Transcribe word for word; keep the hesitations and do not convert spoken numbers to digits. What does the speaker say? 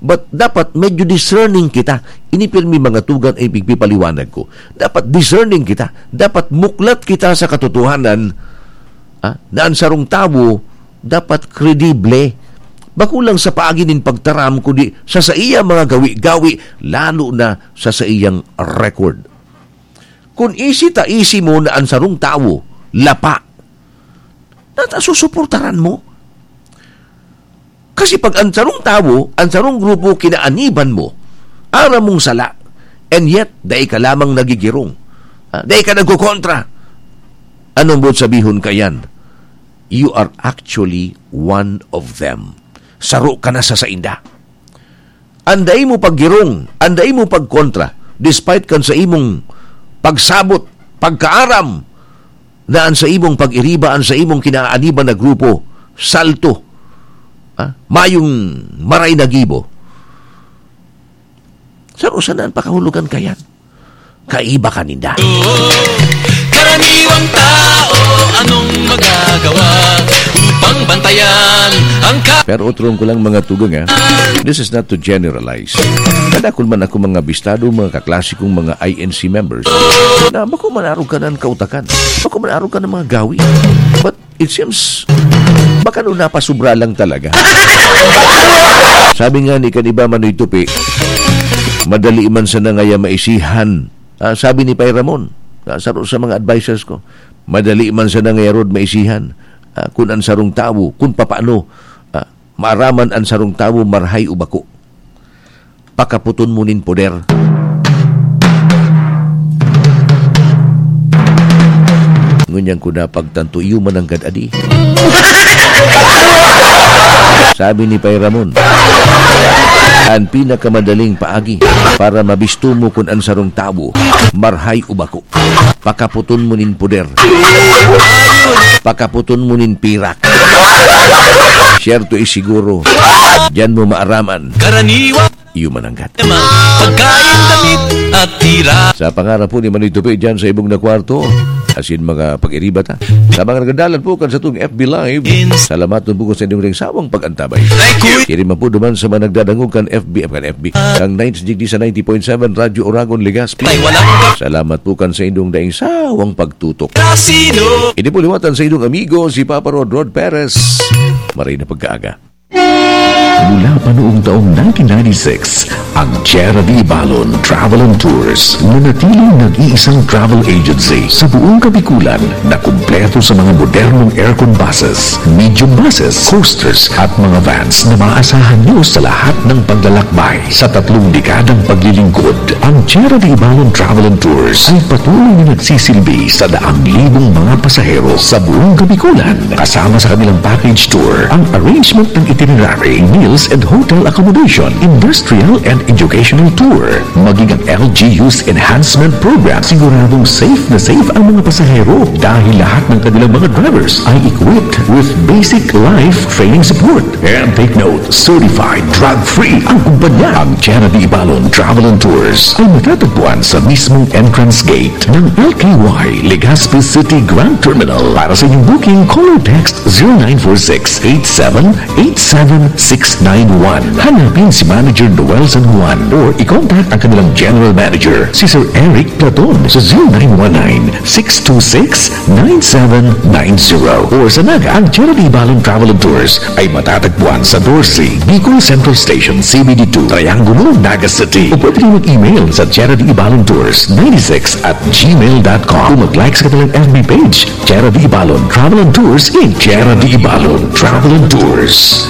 But dapat medyo discerning kita. Ini pirmi mga tugang ay pigpipaliwanag ko. Dapat discerning kita. Dapat muklat kita sa katotohanan, ah, na an sarong tawo dapat kredible. Bako lang sa paagi nin pagtaram, kundi sa saiyang mga gawi-gawi, lalo na sa saiyang record. Kun isi ta isi mo na an sarong tawo lapa, nata susuportaran mo? Kasi pag an sarong tawo, an sarong grupo kinaaniban mo, aram mong sala, and yet, dai ka lamang nagigirong. Ah, dai ka nagkokontra. Anong buot sabihon kaiyan? You are actually one of them. Saro ka na sa sainda. An dai mo paggirong, an dai mo pagkontra, despite kan sa imong pagsabot, pagkaaram, na an sa imong pag-iriba, an sa imong kinaaniban na grupo, salto, ha? Mayong maray na gibo. Saro sana an pakahulogan kaiyan. Kaiba ka ninda. Karaniwang tao, anong magagawa upang bantayan ang ka- Pero otrong ko lang, mga tugang, ha? This is not to generalize. Kadakul man ako mga bistado, mga kaklase kong mga I N C members, na bako man arog ka ng kautakan, bako man arog ka ng mga gawi. But it seems, baka no napasobra lang talaga. Sabi nga ni kan iba, Manoy Tupi, madali man sana ngaya maisihan. Ah, sabi ni Pay Ramon, ah, saro sa mga advisors ko, madali man sana ngaya rod maisihan. Ah, kun an sarong tawo, kun papaano, ah, maaraman an sarong tawo, marhay o bako. Pakaputon mo nin poder. Ngunyan ko napagtanto, iyo mananggad adi. Sabi ni Pay Ramon, an pinakamadaling paagi para mabisto mo kun an sarong tawo, marhay o bako, pakaputon mo nin poder. Pakaputon mo nin pirak. Siyerto is siguro, diyan mo maaraman. Karaniwan. Iyo mananggad. Pagkain, damit, at tira. Sa pangarap po ni Manoy Tupi dyan sa ibong na kwarto, asin mga pag-iriba ta. Sa mga nagdadalan po kan satong F B Live, salamat po sa inyong sawang pag-antabay. Thank you. Kini man po duman sa mga nagdadangog kan F B, kan F B, kan ninety point seven Radyo Oragon, Legazpi. Salamat po kan sa inyong daing sawang pagtutok. Sino? Ini po liwatan sa inyong amigo, si Papa Rod Rod Perez. Maray na pagkaaga. Mula pa noong taong nineteen ninety-six, ang Tierra de Ibalon Travel and Tours, nanatiling nag-iisang travel agency sa buong Kabikulan na kumpleto sa mga modernong aircon buses, medium buses, coasters, at mga vans na maaasahan nyo sa lahat ng paglalakbay. Sa tatlong dekadang paglilingkod, ang Tierra de Ibalon Travel and Tours ay patuloy na nagsisilbi sa daang libong mga pasahero sa buong Kabikulan, kasama sa kanilang package tour, ang arrangement ng itinerary, meals and hotel accommodation, industrial and educational tour, maging ang L G U's enhancement program. Siguradong safe na safe ang mga pasahero dahil lahat ng kanilang mga drivers ay equipped with basic life training support. And take note, certified drug-free ang kumpanya. Ang Tierra de Ibalon Travel and Tours ay matatagpuan sa mismong entrance gate ng L K Y Legazpi City Grand Terminal. Para sa inyong booking, call or text zero nine four six eight seven eight seven six nine one. Hanapin si Manager Noel San Juan or i-contact ang kanilang General Manager, si Sir Eric Platon, sa zero nine one nine six two six nine seven nine zero. Or sa Naga, ang Tierra de Ibalon Travel and Tours ay matatagpuan sa doce, Bicol Central Station, C B D two, Triangulo, Naga City. O pwede rin mag-email sa Tierra de Ibalon Tours ninety-six at gmail dot com. O mag-like sa kanilang F B page, Tierra de Ibalon Travel and Tours in Tierra de Ibalon Travel and Tours.